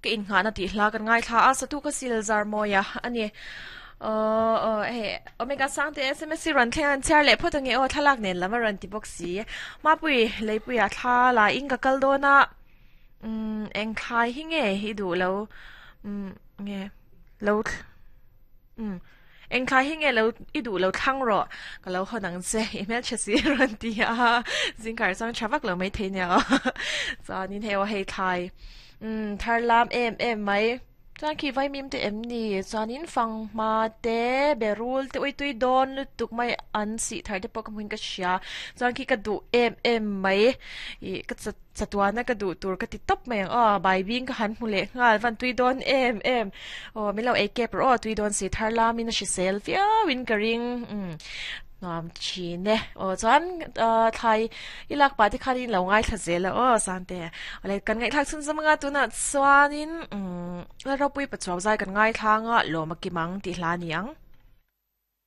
Ka innghahna tih hla kan ngaithla a, satu ka sil zar mawi a a ni. Aw aw hei Omega Sangte sms hi rawn thleng an chhiar leh phawt ange aw thlalak nen lam a rawn ti bawk si. Mapui Leipuia thla la in ka kal dawn a, umm eng thlai hi nge i duh lo umm nge lo umm. Engthlai hi nge lo i duh lo thlang rawh, ka lo hawn ang che, i hmelchhe si a rawn ti a, zingkar chuan tha vak lo mai thei nia aw. Chuanin hei aw hei thlai umm thar lam em em mai, chuan khi vaimim te em ni, chuanin fanghma te, berul te uitui dawn lutuk mai an sih thar te pawh ka hmuin ka hria, chuan khi ka duh em em mai ih ka Chatuana ka duh tur ka ti tawp mai ang aw, baibing ka han hmu leh nghal van tui dawn em em aw min lo ei kep rawh aw tui dawn si thar lamin a hrisel viauin ka ring umm nuam thin e aw chuan ah thlai i lak pah te khanin lo ngaithla zel a aw Sante awle kan ngaihthlak chhun zawm anga tunah chuanin umm Lalropui Pachuau zai kan ngaithla anga lawm a kim ang tih hla a ni ang.